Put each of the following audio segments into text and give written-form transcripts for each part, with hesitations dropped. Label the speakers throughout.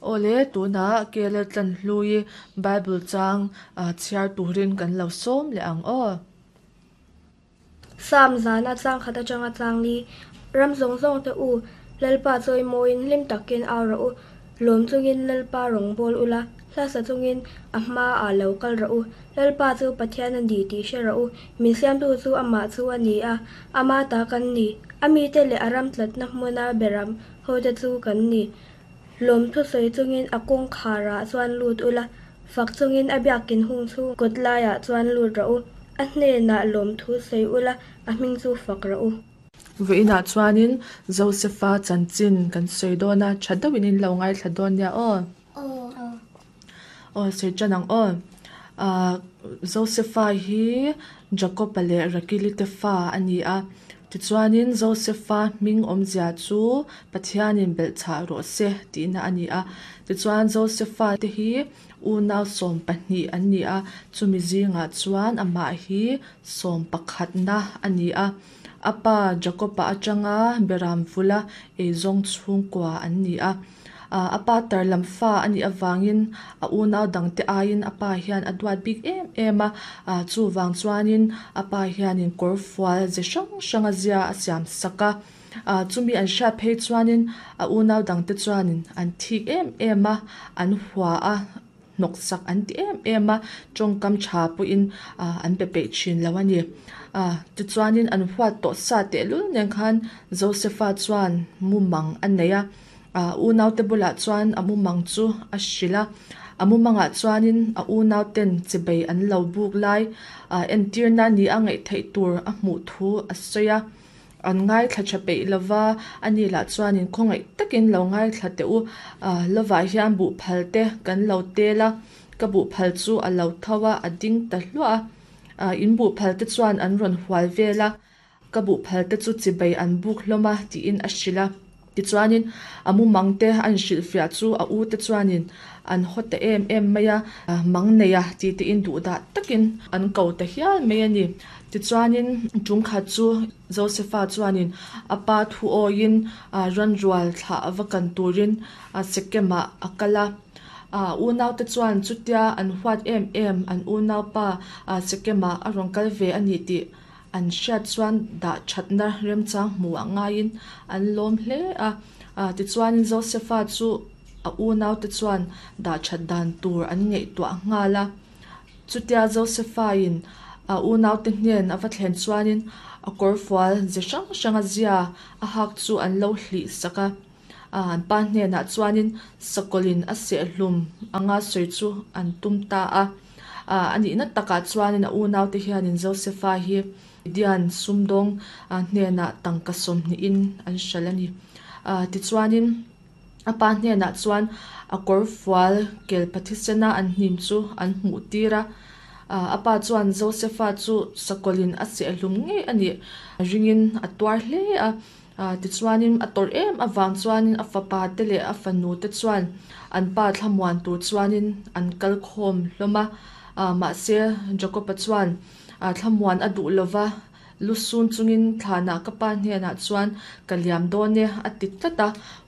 Speaker 1: Awle, tunah KL Tlanhlui Bible chang chhiar turin kan lo sawm leh ang aw.
Speaker 2: Sam zana chang khat atanga chang li, Ram zawng zawng te u, Lalpa chawimawiin hlim takin au rawh u, lawm chungin Lalpa rawn bawl ula, hla sa chungin a hmaah lo kal rawh u. Lalpa chu Pathian a ni tih hre rawh u, min siamtu chu amah chu a ni a, ama ta kan ni, a mite leh a ram tlatna hmuna beram hote chu kan ni. Lawm thusawi chungin a kawngkharah chuan lut ula, fak chungin a biakin hung chhung kawt laiah chuan lut rawh u, a hnenah lawm thusawi ula, a hming chu fak rawh u.
Speaker 1: Vawiinah chuanin Josefa chanchin kan sawi dawn a, tha deuhin in lo ngaithla dawn nia aw. Aw sawi tan ang aw. Ahh Josefa hi Jakob-a leh Rakili te fa a ni a, tichuanin Josefa hming awmzia chu Pathianin belhchhah rawh se tihna a ni a. Tichuan Josefa te hi unau 12 an ni a, chumi zingah chuan amah hi 11na a ni a. A pa Jakob-a atanga Beram vula eizawng chhungkua an ni a. A pa tar lam fa a nih avangin a unau dangte aiin a pa hian a duat bik em em a, chuvang chuanin a pa hianin kawr fual ze hrang hrang a zia a siam sak a. Chumi an hriat phei chuanin a unau dangte chuanin an thik em em a, an hua a. hnawksak an ti em em a, tawngkam tha pawhin an pe peih thin lo a ni. Tichuanin an huat tawh sa tehlul nen khan Josefa chuan mumang a nei a, unaute bulah chuan a mumang chu a hrilh a, a mumangah chuanin a unauten chibei an lo buk lai entirna ni a ngaih theih tur a hmuh thu a sawi a. An ngaithla tha peih lova, ani lah chuanin khawngaih takin lo ngaithla teh u. Lovah hian buhphal te kan lo tel a, ka buhphal chu a lo tho a, a ding ta hluah a. In buhphal te chuan an rawn hual vel a, ka buhphal te chu chibei an buk hlawm a tiin a hrilh a. Tichuanin a mumang te a inhrilhfiah chu a u te chuanin an haw ta em em mai a, mang nei a ti tein duhdah takin an ko ta hial mai a ni. Tichuanin tungkhat chu Josefa chuanin a pa thu awiin ranrual thlah va kan turin Sekemah a kal a. Unaute chuan chutia an huat em em an unaupa Sekemah a rawn kal ve a ni tih An hriat chuan dah thatna remchang hmu a ngaiin an lawm hle a. Tichuan Josefa chu a unaute chuan dah that dan tur an ngaihtuah nghal a. Chutia Josefa-in a unaute hnen a va thlen chuanin a kawrfual ze hrang hranga zia a hak chu an lo hlih sak a. An pa hnenah chuanin sakawlin a sehhlum anga sawi chu an tum ta a. A nihna takah chuanin a unaute hianin Josefa hi Midian sumdawng hnenah tangka 20in an hralh a ni. Tichuanin a pa hnenah chuan a kawrfual kelpa thisena an hnim chu an hmuh tir a. A pa chuan Josefa chu sakawlin a sehhlum ngei a nih ringin a tuar hle a. Tichuanin a tawrh em avang chuanin a fapa te leh a fanu te chuan an pa thlamuan tur chuanin an kal khawm hlawm a. Mahse Jakob-a chuan thlamuan a duh lova, lu sun chungin thlanah ka pa hnenah chuan ka liam dawn e a ti tlat a,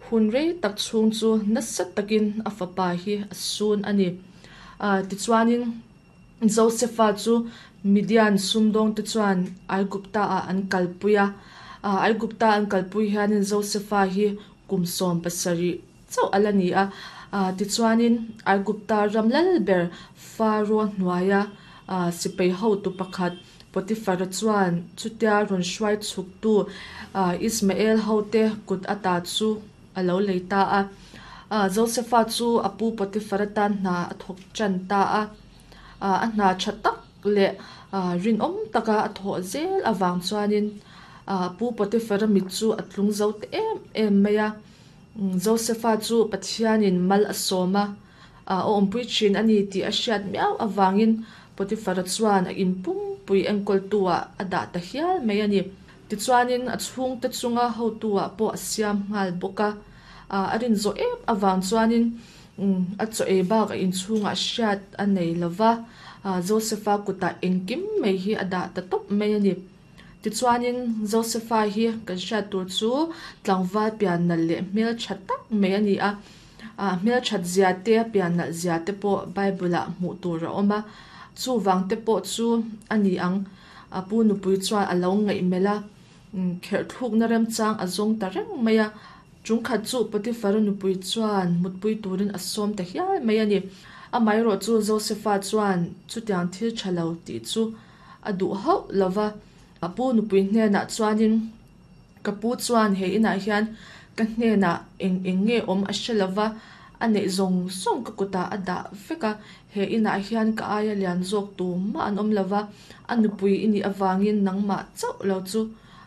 Speaker 1: hun rei tak chhung chu nasa takin a fapa hi a sun a ni. Tichuanin. Josefa chu Midian sumdawngte chuan Aigupta-ah an kalpui a. Aigupta an kalpui hianin Josefa hi kum 17 chauh a la ni a. Tichuanin Aigupta ram lal ber Faro hnuaia sipai hotu pakhat Potifara chuan chutia rawn hruai chhuktu Ismael hote kut ata chu a lo lei ta a. Josefa chu a pu Potifara tan hna a thawk tan ta a. A hna tha tak leh rinawm taka a thawh zel avang chuanin pu Potifara mit chu a tlung zo ta em em mai a. Josefa chu Pathianin mal a sawm a, a awmpui thin a ni tih a hriat miau avangin Potifara chuan a inpumpui enkawltu-ah a dah ta hial mai a ni. Tichuanin a chhungte chunga hotu-ah pawh a siam nghal bawk a, a rin zawh em avang chuanin a chaw ei bak a inchhungah hriat a nei lo va, Josefa kutah engkim mai hi a dah ta tawp mai a ni. Tichuanin Josefa hi kan hriat tur chu tlangval pian nalh leh hmeltha tak mai a ni a. A hmelthat zia te, a pian nalh zia te pawh Bible-ah hmuh tur a awm a. Chuvang te pawh chu a ni ang. A pu nupui chuan a lo ngaihmelh a, kherhthlukna remchang a zawng ta reng mai a. Chungkhat chu Potiphar-a nupui chuan mutpui turin a sawm ta hial mai a ni. Amaherawh chu Josefa chuan chutiang thil tha lo tih chu a duh hauh lo va. A pu nupui hnenah chuanin, Ka pu chuan he inah hian ka hnenah eng eng nge awm a hre lo va, a neih zawng zawng ka kutah a dah vek a, he inah hian ka aia lian zawk tumah an awm lo va, a nupui i nih avangin nangmah chauh lo chu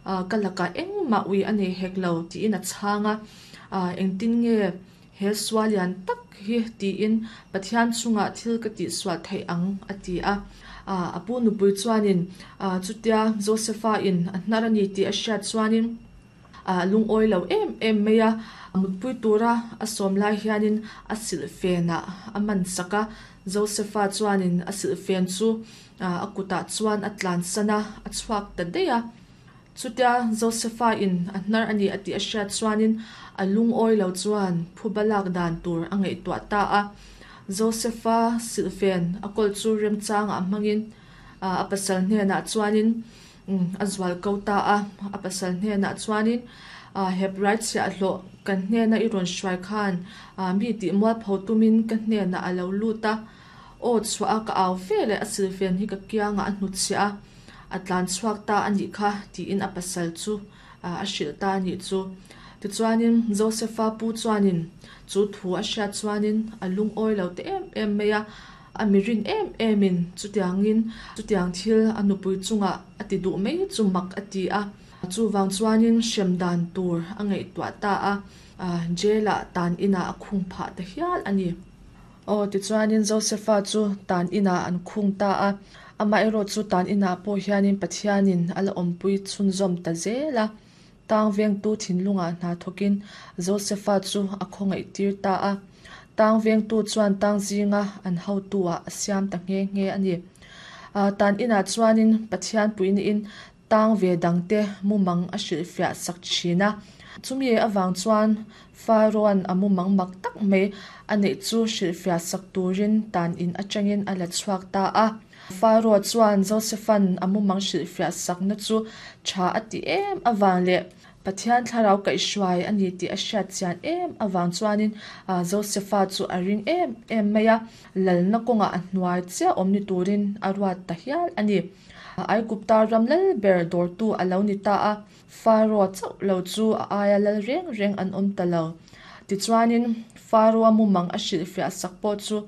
Speaker 1: ka lakah engmah ui a nei hek lo tiin a chhang a, engtin nge he sual lian tak hi tiin Pathian chungah thil ka tihsual theih ang a ti a. A pu nupui chuanin chutia Josefa in a hnar a ni tih a hriat chuanin a lungawi lo em em mai a, mutpui tura a sawm lai hianin a silhfenah a man sak a, Josefa chuanin a silhfen chu a kutah chuan a tlansan a, a chhuak ta daih a. Chutia Josefa in a hnar a ni a tih a hriat chuanin a lungawi lo chuan phuba lak dan tur a ngaihtuah ta a. Josefa silhfen a kawl chu remchangah hmangin a pasal hnenah chuanin a zual ko ta a. A pasal hnenah chuanin Hebrai chhiahhlawh kan hnena i rawn hruai khan mi tih mualpho tumin ka hnenah a lo lut a. Aw chhuah a ka au ve leh a silhfen hi ka kiangah a hnutchhiah a. A tlan chhuak ta a nih kha tiin a pasal chu a hrilh ta a nih chu. Tichuanin Josefa pu chuanin chu thu a hriat chuanin a lungawi lo ta em em mai a, a mirin em emin chutiangin chutiang thil a nupui chungah a ti duh mai chu mak a ti a. Chuvang chuanin hrem dan tur a ngaihtuah ta a, jail-ah tan inah a khung phah ta hial a ni. Aw, tichuanin Josefa chu tan inah an khung ta a. Amaherawh chu tan inah pawh hianin Pathianin a la awmpui chhunzawm ta zel a. Tang vengtu thinlungah hna thawkin Josefa chu a khawngaih tir ta a. Tang vengtu chuan tang zinga an hotu-ah a siam ta nghe nghe a ni. Tan inah chuanin Pathian puiniin Tang ve dangte mumang a hrilhfiah sak thin a. Chumi avang chuan Pharaoh-a'n a mumang mak tak mai a neih chu hrilhfiah sak turin tan in atangin a la chhuak ta a. Pharaoh chuan Joseph-a'n a mumang hrilhfiah sakna chu tha a ti em avang leh Pathian thlarau kaihhruai a ni tih a hriat chian em avang chuanin Joseph-a chu a ring em em mai a, lalna kawngah a hnuai chiah awm ni turin a ruat ta hial a ni. Aigupta ram lal ber dawrtu a lo ni ta a, Pharaoh chauh lo chu a aia lal reng reng an awm ta lo. Tichuanin, Pharaoh-a mumang a hrilhfiah sak pawh chu.